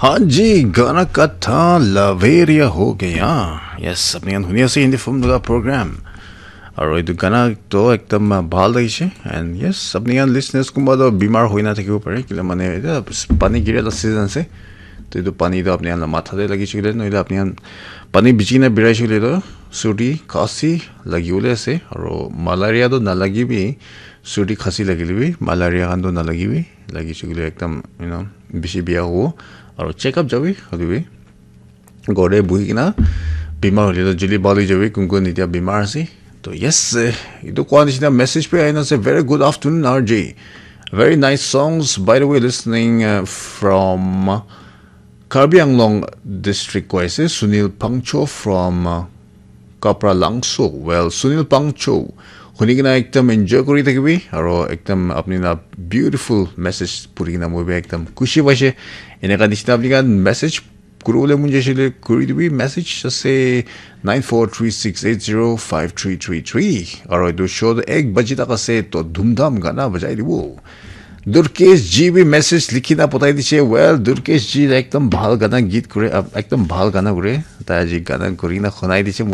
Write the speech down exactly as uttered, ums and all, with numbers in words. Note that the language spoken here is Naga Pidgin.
Haan ji, gana ka tha laveria ho gaya. Yes, apni khan huni ase Hindi film laga program. Aru etu gana toh ekdam, uh, bhal lagise. And yes, apni khan listeners kunba toh bimar hoi na thakibo pare. Kile mane, eta pani gira la season ase. To etu pani toh apni khan la matha te lagise kile, nohole apni khan pani bichi kena biraise kile toh, surdi, khasi lagi bole ase. Aru malaria toh nalagi bi, surdi, khasi lagile bi, malaria khan toh nalagi bi. Lagise kile ekdam, you know, bishi bia hobo. Aru check up jabi, hoilebi. Ghor te buhi kena bimar hoile toh joldi bhal hoi jabi, kun kun etia bimar ase. To yes, eh, etu koa nishina message bi ahina ase, "Very good afternoon, R J. Very nice songs. By the way, listening, uh, from Karbi Anglong district," koi ase, Sunil Pangcho from, uh, Kapra Langso. Well, Sunil Pangcho, huni kena ekdam enjoy kuri thakibi, aro ekdam apni la beautiful message puri kena moi bi ekdam khushi paise. Eneka nishina apni khan message kuribole mon jaisile kuri dibi, message ase nine four three six eight zero five three three three. Aro etu show toh ek baji tak ase, to dhumdham gana bajai dibo. Durkesh ji bi message likhi na pathai dise. Well, Durkesh ji ekdam bhal gana git kure, ab-, ekdam bhal gana kure. Tai aji gana kuri na khunai dise.